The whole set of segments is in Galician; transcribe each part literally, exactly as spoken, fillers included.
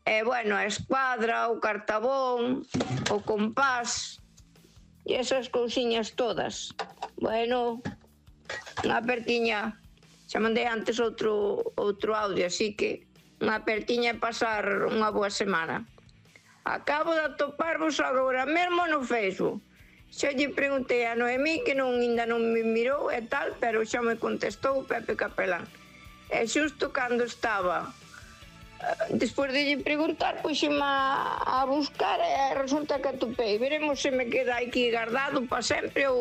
E, bueno, a escuadra, o cartabón, o compás, e esas cousiñas todas. Bueno, unha apertiña, xa mandei antes outro, outro audio, así que unha apertiña e pasar unha boa semana. Acabo de atoparvos agora mesmo no Facebook. Xa lle preguntei a Noemí, que non, ainda non me mirou e tal, pero xa me contestou o Pepe Capelán. E xusto cando estaba, despois de lle preguntar, puxeme a, a buscar e resulta que atopei. Veremos se me queda aquí guardado para sempre ou,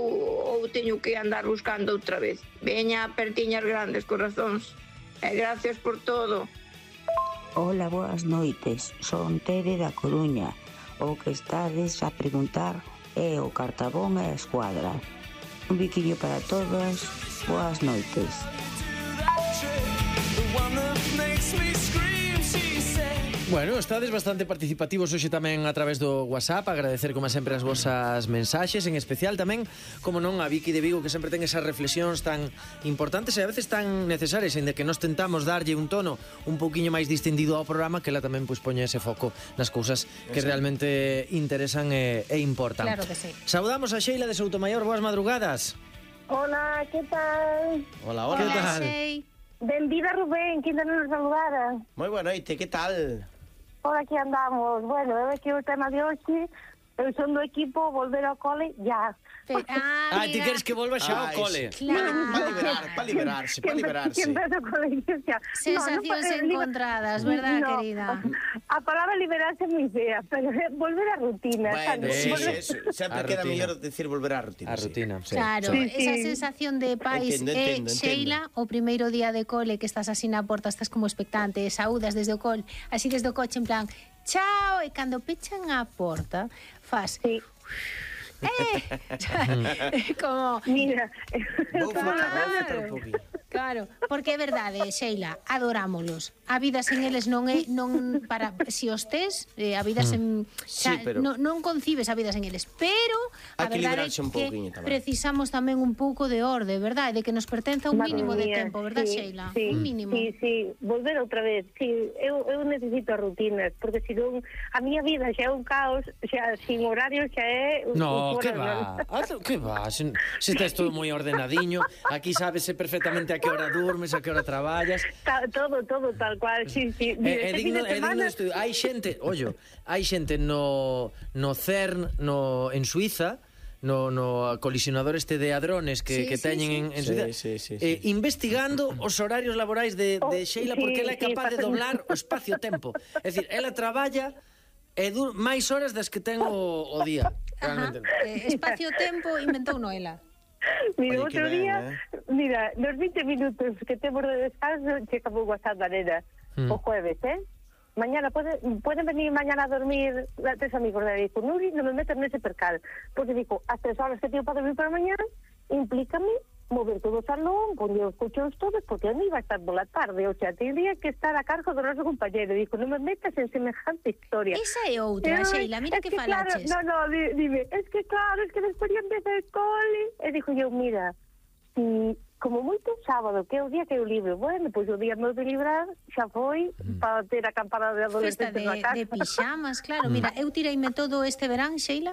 ou teño que andar buscando outra vez. Veña, apertiñas grandes, corazóns. E gracias por todo. Hola, boas noites. Son Tere da Coruña. O que estades a preguntar é o cartabón e a escuadra. Un biquiño para todas. Boas noites. Bueno, estades bastante participativos hoxe tamén a través do WhatsApp. Agradecer como sempre as vosas mensaxes, en especial tamén, como non, a Vicky de Vigo, que sempre ten esas reflexións tan importantes e a veces tan necesarias, en de que nos tentamos darlle un tono un pouquiño máis distendido ao programa, que ela tamén pois poña ese foco nas cousas que sí, realmente interesan e, e importan. Claro que sí. Saudamos a Sheila de Soutomaior. Boas madrugadas. Hola, que tal? Hola, hola. Que tal? Benvida, Rubén, que ainda non nos saludara. Moi boa noite, que tal? Por aquí andamos. Bueno, é que o tema de hoxe, eu son do equipo volver ao cole ya. Pe- ah, Ah, ti queres que volva xa ao cole? Claro. Para liberar, para liberarse, para liberarse. Que empece o colegio xa. Sensacións No, no, encontradas, verdad, no, querida? A palabra liberarse é moi fea, pero volver á rutina. Bueno, sabes? sí, Volver- sí, sí, sempre A queda rutina. mellor decir volver á rutina. A sí. rutina, sí. Claro, Sí, sí. esa sensación de pais Entendo, é, entendo, Sheila, o primeiro día de cole que estás así na porta, estás como expectante, saúdas desde o cole, así desde o coche en plan, chao, e cando pechan a porta, faz... Sí. Eh, como... Mira, Vou flotar, vou Claro. flotar un pouquinho. Claro, porque é verdade, Sheila, adorámolos. A vida sen eles non é non para si os tes, eh, a vida sen Sí, xa, pero- non, non concibes a vida sen eles, pero a Hai que verdade é liberarse un que pouquiño tamén. precisamos tamén un pouco de orde, verdade, de que nos pertenza un Madre mínimo de mía, tempo, verdad, sí, Sheila? sí, Un mínimo. Sí, sí, volver outra vez. Sí, eu, eu necesito as rutinas, porque se non, a miña vida xa é un caos, xa sin horario xa é... un- No, un que fora, va, ah, que va, se, se estás todo moi ordenadiño, aquí sábese perfectamente a que hora durmes, a que hora traballas. Ta, todo, todo tal cual, sí, sí. É, é Mira, este fin digno, de é digno semana- de estudio. Hai xente, ollo, hai xente no, no CERN, no, en Suiza, no, no colisionador este de hadrones que, Sí, que sí, teñen sí. en, en Sí, Suiza, sí, sí, eh, sí. investigando os horarios laborais de, de Oh, Sheila, sí, porque ela é sí, capaz de pasa- doblar o espacio-tempo. É dicir, ela traballa e dur máis horas das que ten o, o día. Ajá. Realmente. Eh, espacio-tempo inventou Noela. Mira, Oye, que outro ben, día, eh. mira, nos vinte minutos que temos de descanso, checa o WhatsApp da nena, Mm. o jueves, eh? Mañana, pode, poden venir mañana a dormir a tres amigos de Dico, Nuri, non me metas nese percal, porque digo, as tres horas que teño para dormir para mañana, implícame mover todo o salón, poñer os colchóns todos, porque a mí va a estar pola tarde, o sea, tendría que estar a cargo do noso compañero, digo, non me metas en semejante historia. Esa é outra, Ai, Sheila, mira es que, que falaches. Claro, no, no, di- dime, es que claro, es que despois ya empeza el cole. E dixo eu, mira, si como moito sábado, que é o día que eu libre, bueno, pois o día meu de librar xa foi para ter a campada de Festa adolescentes de, na casa. de pixamas, claro. Mira, eu tireime todo este verán, Sheila,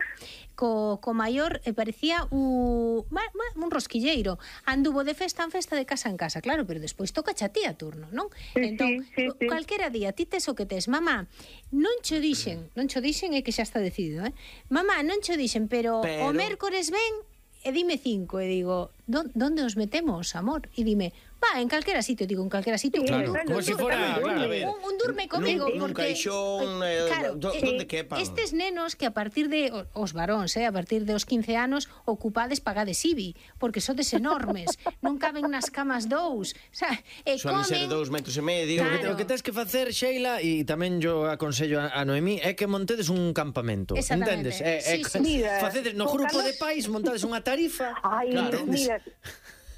co, co maior, e parecía un, un rosquilleiro. Anduvo de festa en festa, de casa en casa, claro, pero despois toca xa ti a turno, non? Sí, Entón, sí, sí, sí. calquera día, ti tes o que tes, mamá, non cho dixen, non cho dixen é que xa está decidido, eh? Mamá, non cho dixen, pero, Pero- o mércores ven e dime cinco, e digo, ¿dónde os metemos, amor? E dime, va, en calquera sitio, digo, en calquera sitio. Claro, bueno, como si tú fuera, tamén, claro, a dime. ver. Un, un durme comigo, Nun- nun porque... caixón, eh, claro, do- eh, donde quepan. estes nenos que a partir de, o- os varóns, eh, a partir de os quince anos, ocupades pagades I B I, porque sodes enormes, non caben nas camas dous, o sea, e Suelen ser comen... dous metros e medio. Claro. O que tens que facer, Sheila, e tamén yo aconsello a, a Noemí, é que montedes un campamento, Exactamente. entendes? É, é, Sí, sí, sí. Mira, facedes no con grupo Carlos- de pais, montades unha tarifa. Ai, claro. mira,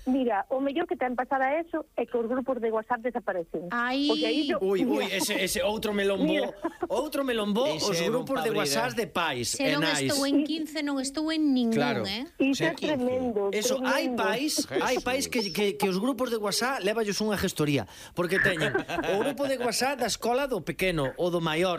mira, o mellor que ten pasar a eso é que os grupos de WhatsApp desaparecen. Ai. Porque aí yo, Ui, ui, mira, ese, ese outro melombó, Mira. outro melombó, Ese os é bon grupos de pa abrir, WhatsApp eh. de pais Se e non nais. estou en quince, non estou en ningún, Claro. eh? Iso é Xa quince. tremendo. Eso, tremendo. hai pais, hai pais que, que, que os grupos de WhatsApp levallos unha gestoría, porque teñen o grupo de WhatsApp da escola do pequeno, o do maior,